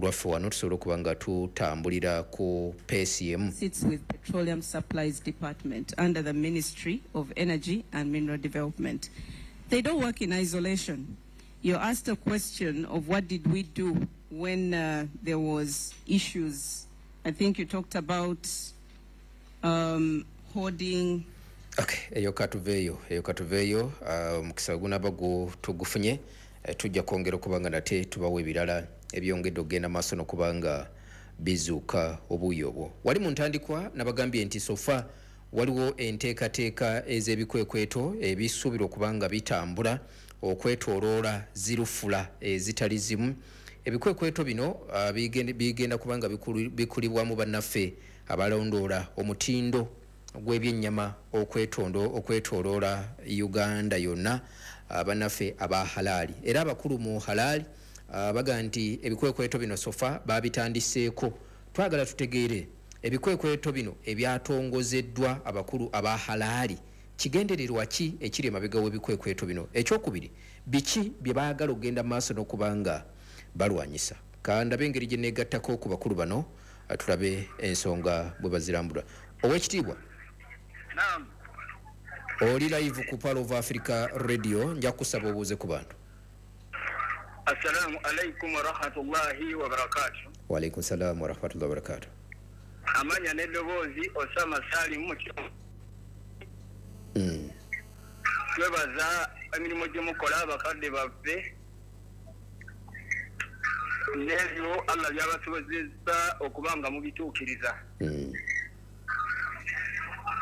Lwaffe wano tusobole okuba nga tutambulira ku pace emu. Sits with Petroleum Supplies Department under the Ministry of Energy and Mineral Development. They don't work in isolation. You asked a question of what did we do when there was issues. I think you talked about hoarding. Okay, eyo katuveeyo, eyo katuveeyo. Omukisa gunaba tugufunye, tujja kwongera okuba nga nate tubawa ebirala ebyongedde okugenda maaso n'okuba nga bizuuka obuuyi obwo. Wali mu ntandikwa nabagambye nti so far waliwo enteekateeka ez'ebikwekweto ebisuubirwa okuba nga bitambula okwetooloola zirufula ezitali zimu. Ebikwekweto bino bigenda kuba nga bikulibwamu bannaffe abalondoola omutindo gw'ebyennyama okwetooloola Uganda yonna, bannaffe aba halaali. Era abakulu mu halaali baga nti ebikwekweto bino so far babitandiseeko. Twagala tutegeere ebikwekweto bino ebyatongozeddwa abakulu aba halaali, kigendererwa ki ekiri emabega w'ebikwekweto bino? Ekyokubiri, biki bye baagala okugenda mu maaso n'okuba nga balwanyisa? Kandabe engeri gye neegattako ku bakulu bano, tulabe ensonga bwe bazirambula. Owekitiibwa. Naam. Oli live ku Pearl of Africa Radio, nja kusaba obuuze ku bantu. Assalamu alaikum warahmatullahi wabarakatuh. Wa alaikum salam warahmatullahi wabarakatuh. Amanya n'eddoboozi Osama Salim Mukyo. Twebaza emirimu gye mukola abakadde baffe n'ebyo Allah by'abasobozesa okuba nga mubituukiriza.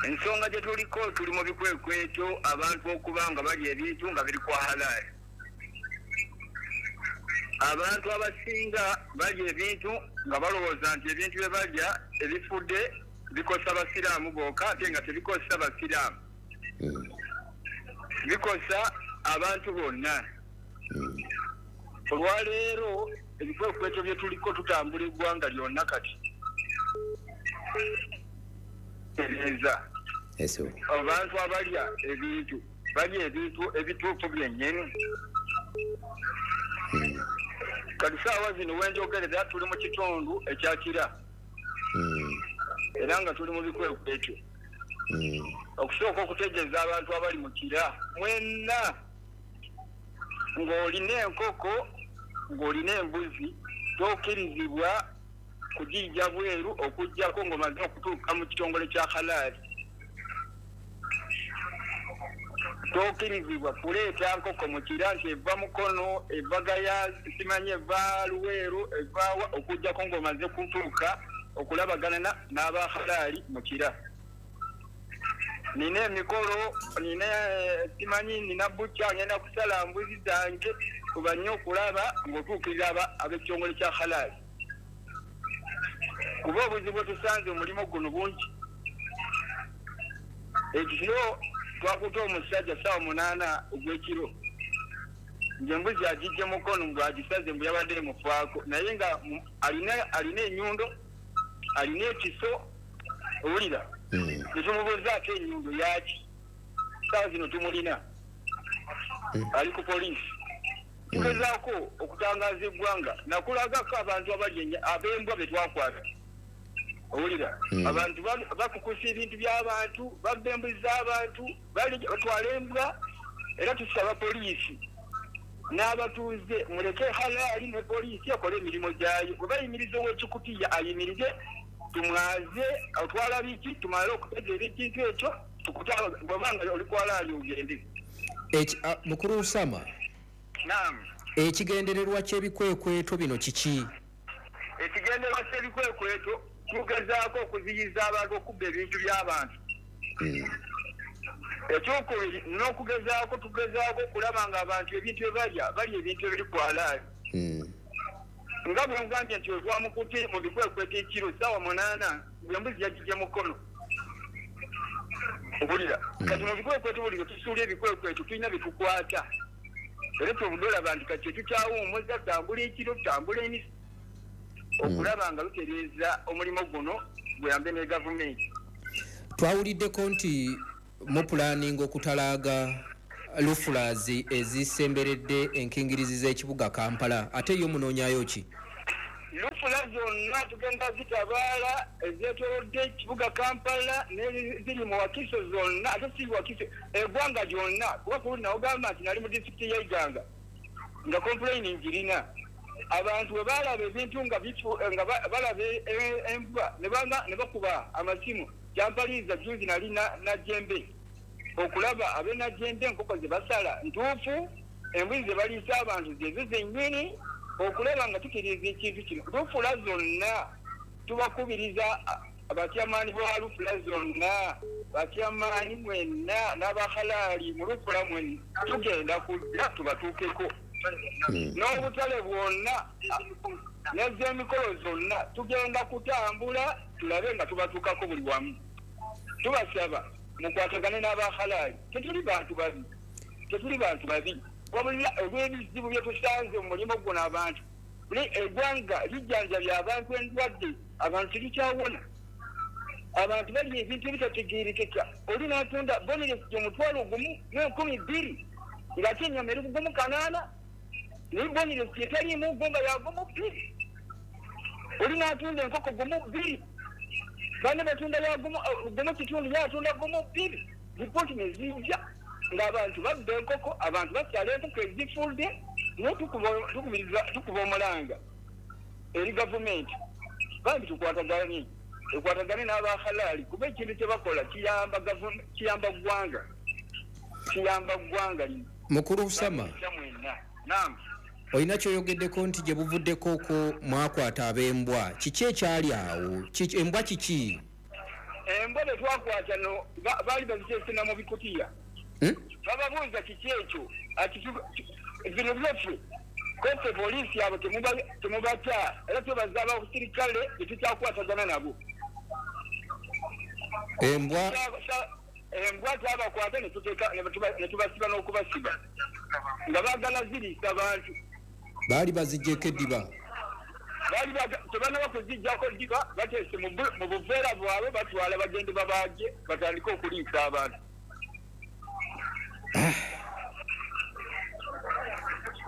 Ensonga gye tuliko, tuli mu bikwekweto abantu okuba nga balya ebintu nga biri kwa halaali. Abantu abasinga balya ebintu nga balowooza nti ebintu bye balya ebifudde bikosa basiraamu bokka, ate nga tebikosa basiraamu, bikosa abantu bonna. Olwaleero ebikwekweto bye tuliko tutambula eggwanga lyonna kati tereeza abantu abalya ebintu balya ebintu ebituufu byennyini. Kati saawa zino wenjogerera tuli mu kitundu ekyakira era nga tuli mu bikwekweto. Okusooka okutegeeza abantu abali mu Kira mwenna ng'olina enkoko ng'olina embuzi tokkirizibwa kugijja bweru okuggyako ng'omaze okutuuka mu kitongole kya halaali. Tokkirizibwa kuleeta nkoko mu Kira nti eva Mukono, eva Gaya, simanyi eva Luweero, evaawa, okuggyako ng'omaze kutuuka okulabagana n'aba halaali mu Kira. Nina emikolo, nina simanyi nina bukya ngenda kusala mbuzi zange, kuba nnyo okulaba ng'otuukirira ab'ekitongole kya halaali. Kuba obuzibu bwe tusanze omulimu guno bungi. Ekiro twakutte omusajja ssaawa 8 ogw'ekiro, ng'embuzi agijje Mukono ng'agisaze mbu yabadde emufaako, naye nga alina ennyundo, alina ekiso, owulira? Ne tumubuuzaako ennyundo yaaki? Ssaawa zino tumulina, ali ku poliisi. Tugezaako okutangaza eggwanga nakulagako abantu abali ab'embwa be twakwata, owulira? Abantu bakukusa ebintu by'abantu, babba embuzi z'abantu, batwala embwa. Era tusaba poliisi n'abatuuze muleke halaali ne poliisi ekole emirimu gyayo. Bwe bayimiriza ow'ekikutiya ayimirize, tumwaze otwala biki, tumale okutegeera ekintu ekyo, bw'obanga oli ku halaali ogende. Mukulu Usama. Naam. Ekigendererwa ky'ebikwekweto bino kiki? Ekigendererwa ky'ebikwekweto tugezaako okuziyiza abantu okubba ebintu by'abantu. Ekyokubiri n'okugezaako tugezaako okulaba nga abantu ebintu bye balya balya ebintu ebiri ku halaali. Nga bwe ngambye nti otwamukutte mu bikwekweto ekiro ssaawa 8 ng'embuzi yagijje Mukono, owulira? Kati mu bikwekweto buli lwe tusuula ebikwekweto tulina bye tukwata, era kyobudde olaba nti kati tetukyawummuza, tutambula ekiro, tutambula emisi okulaba nga lutereeza omulimu guno guyambe ne gavumenti. Twawuliddeko nti mupulaninga okutalaaga lufulazi ezisemberedde enkingirizi z'ekibuga Kampala, ate yo munoonyayo ki? Lufula zonna tugenda zitabaala ezeetoolodde ekibuga Kampala neziri mu Wakiso zonna, ate si Wakiso, eggwanga lyonna, kuba ku nawogamba nti nali mu disitulikiti y'e Iganga nga complain ngirina. Abantu bwe balaba ebintu nga balaba embwa ne bakuba amasimu. Kyampaliza juzi nali Najjembe okulaba ab'e Najjembe enkoko ze basala ntuufu, embuzi ze baliisa abantu zezo zennyini, okulaba nga tukiriza ekintu kino. Lufula zonna tubakubiriza abatyamaani ba lufula zonna, batyamaani mwenna n'abahalaali mu lufula mwenna, tugenda kujja tubatuukeko. N'obutale bwonna n'ez'emikolo zonna tugenda kutambula tulabe nga tubatuukako buli wamu. Tubasaba mukwatagane n'abahalaali, tetuli bantu babi, tetuli bantu babi, wabula olw'ebizibu bye tusanze mu mulimu guno. Abantu eggwanga lijjanjabya abantu endwadde, abantu terukyawona, abantu balya ebintu ebitategeerekeka. Oli n'atunda bonelesi 20,000 ng'ate ennyama eri ku 1,800, naye bonelesi etaliimu gumba ya 1,2. Oli n'atunda enkoko 1,2, banne batunda ya 1.5, yatunda 1,2. Ripooti ne zijja ng'abantu babba enkoko, abantu basala enkoko ezifudde. Naye tukuba omulanga eri gavumenti, bambi tukwatagane, ekwatagane n'abahalaali, kuba ekintu kye bakola kiyamba ggwanga, kiyamba ggwanga lino. Mukulu Usama, naam, olina kyoyogeddeko nti gye buvuddeko ko mwakwata ab'embwa, kiki ekyali awo? Embwa kiki? Embwa be twakwata no baali baziteesena mu bikutiya. Bababuuza kiki ekyo, bino byaffe kofe poliisi abo temubata, era twebaza abasirikale tetukyakwatagana nabo. Embwa embwa twabakwata ne tubasiba n'okubasiba nga baagala ziriisa abantu. Baali baziggyeko eddiba? Baali tebanaba kuziggyako ddiba, bateese mu buveera bwabwe batwala bagende babaage batandike okuliisa abantu.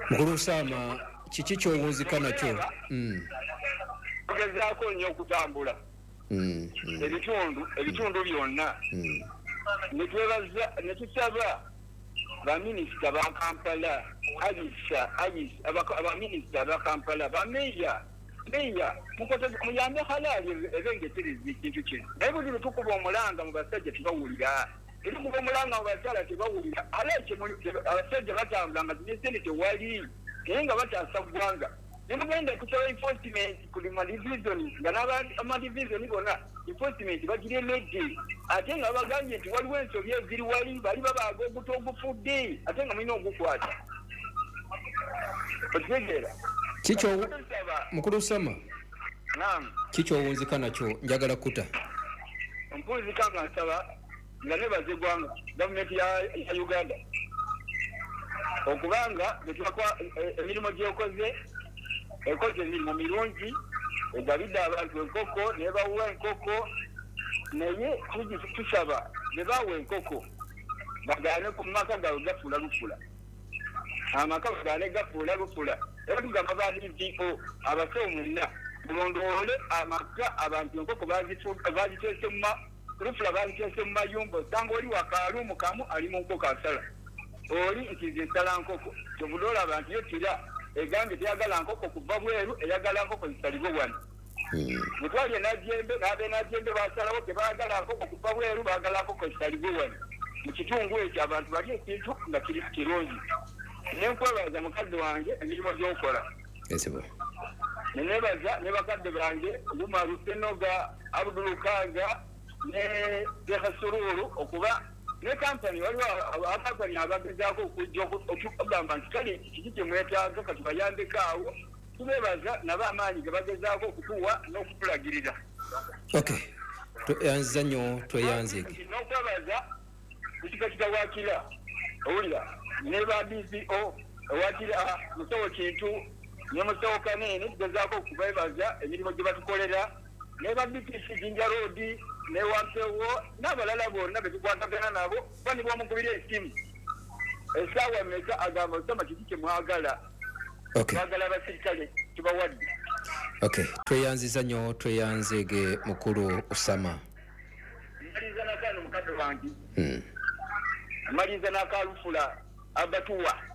Mukulu Usama, kiki ky'owunzika nakyo? Tugezaako nnyo okutambula ebitundu byonna, ne twebaza ne tusaba baminisita ba Kampala, abaminisita ba Kampala, bameeya, meeya muyambe halaali ebengetereza ekintu kino. Naye buli lwe tukuba omulanga mu basajja tebawulira, tukuba omulanga mu bakyala tebawulira. Halaali abasajja batambula nga zine tewali, naye nga bataasa ggwanga. Ne mugenda kusaba enforcement ku madivizoni, nga n'amadivizoni bonna enforcement bagiremedde, ate nga bagambye nti waliwo ensobi eziri wali, bali babaaga oguto ogufudde, ate nga mulina ogukwata. Okitegeera? Mukulu Usama, naam, kikyowunzika nakyo njagala kuta. Mpunzika nga nsaba nga nebaza eggwanga gavumenti ya Uganda okubanga emirimu gyekoze, ekoze emirimu mirungi, egabidde abantu enkoko nebawa enkoko, naye tusaba ne bawa enkoko bagaane ku maka gaabwe gafuula lufula, amaka bagaane gafuula lufula. Era tugamba ba DPO abasawo mwenna mulondoole amaka abantu enkoko baziteese mu lufula, baziteese mu mayumba. Osanga oli wakaalumu kamu ali mu nkoko asala, oli nti nze nsala nkoko. Kyovudde olaba nti yo kira egambye teyagala nkoko kuva bweru, eyagala nkoko zisalibwe wano. Mutwali Najjembe n'ab'e Najjembe basalawo tebaagala nkoko kuva bweru, baagala nkoko zisalibwe wano mu kitundu ekyo, abantu bali ekintu nga kiri kirungi. Nenkwebaza mukadde wange emirimu gy'okola, nenebaza ne bakadde bange Umaru Senoga, Abdul Kaga ne Sheikh Sururu, okuba ne kampani. Waliwo akampani abagezaako okujja okugamba nti kale kiki kye mwetaaga katubayambeko awo. Tubebaza nabo amaanyi ge bagezaako okutuwa n'okutulagirira. Okay, tweyanziza nnyo, tweyanzeege. N'okwebaza kusikakita wakira owulira ne ba DCO owakira musawo Kintu ne musawo Kanene, tugezaako okubebaza emirimu gye batukolera, ne ba DPC Jinja Road ne Wampewo n'abalala bonna be tukwatagana nabo. Kuba ne bw'omukubira esimu essaawa mmeka agamba Osama kiki kye mwagala, twagala abasirikale tubawadde. Okay, tweyanziza nnyo, tweyanzeege mukulu Osama. Maliza nakano mukadde wange. Maliza nakalufula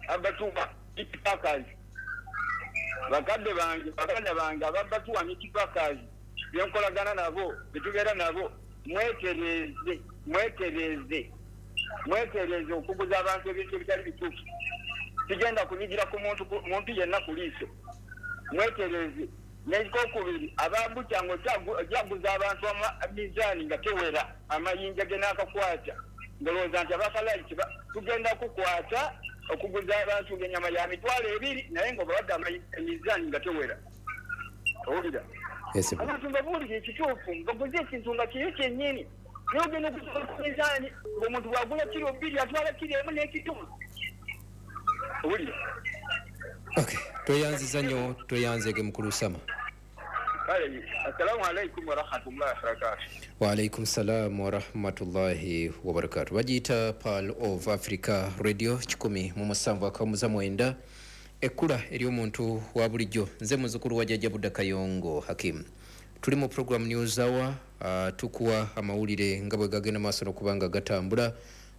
abatuwa itipakazi. Bakadde bange, baganda bange ababatuwa n'itipakazi. Byenkolagana nabo, betubeera nabo, mwetereze okuguza abantu ebintu ebitali bituufu. Sigenda kunyigira ku muntu yenna ku liiso. Mwetereze. N'ekokubiri, abambuca ngo okyaguza abantu mizaani nga tewera, amayinja ge n'akakwata. Ndowooza nti abakalayi tugenda kukwata okuguza abantu ennyama ya 20,000 naye ng'obawadde emizaani nga tewera. Owulira? Abantu mbabuulire ekituufu, baguze ekintu nga kiri kyennyini. Naye ogenda okusobola ku mizaani, ng'omuntu bw'agula kiro 2 atwala kiro 1 n'ekitundu. Owulira? Okay, tweyanziza nnyo, tweyanzeege mukulu Osama. Kale, assalamu alaikum warahmatullahi wabarakatuh. Wa alaikum salam warahmatullahi wabarakatuh. Bagiyita Pearl of Africa Radio 107.9, ekkula ery'omuntu wa bulijjo. Nze muzzukulu wa Jjajja Budda Kayongo Hakim. Tuli mu program News Hour, tukuwa amawulire nga bwe gagenda maaso n'okuba nga gatambula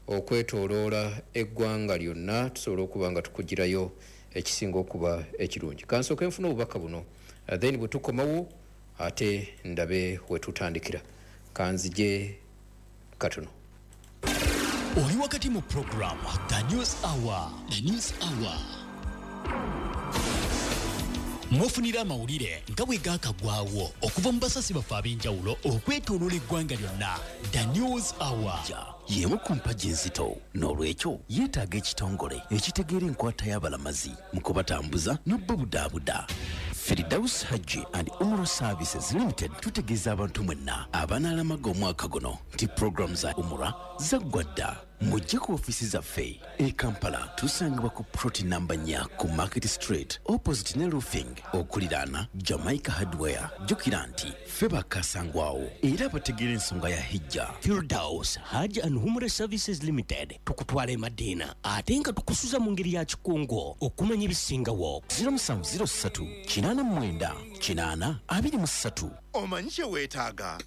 okwetooloola eggwanga lyonna, tusobole okuba nga tukugirayo ekisinga okuba ekirungi. Kansooke nfune obubaka buno, then bwe tukomawo ate ndabe we tutandikira. Kanzije katono. Oli wakati mu program The News Hour. The News Hour. Mufunira amawulire nga bwe gaakagwawo okuva mu basasi baffe ab'enjawulo okwetooloola eggwanga lyonna. The News Hour. Y'emu ku mpagi enzito, n'olwekyo yeetaaga ekitongole ekitegeera enkwata y'abalamazi mu kubatambuza n'obbabudaabuda. Firdaus Hajji and Umrah Services Limited tutegeeza abantu mwenna abanaalamaga omwaka guno nti pulogulaamu za Umrah zaggwa dda. Mujje ku ofiisi zaffe e Kampala, tusangibwa ku plot namba 4 ku Market Street opposite ne Roofing, okuliraana Jamaica Hardware. Jjukira nti ffe bakasangwawo era abategeera ensonga ya hijja. Firdaus Hajj and Umrah Services Limited tukutwala e Madina ate nga tukusuza mu ngeri ya kikungo okumanya ebisingawo. 0703 89 8 23. Omanyi kye weetaaga?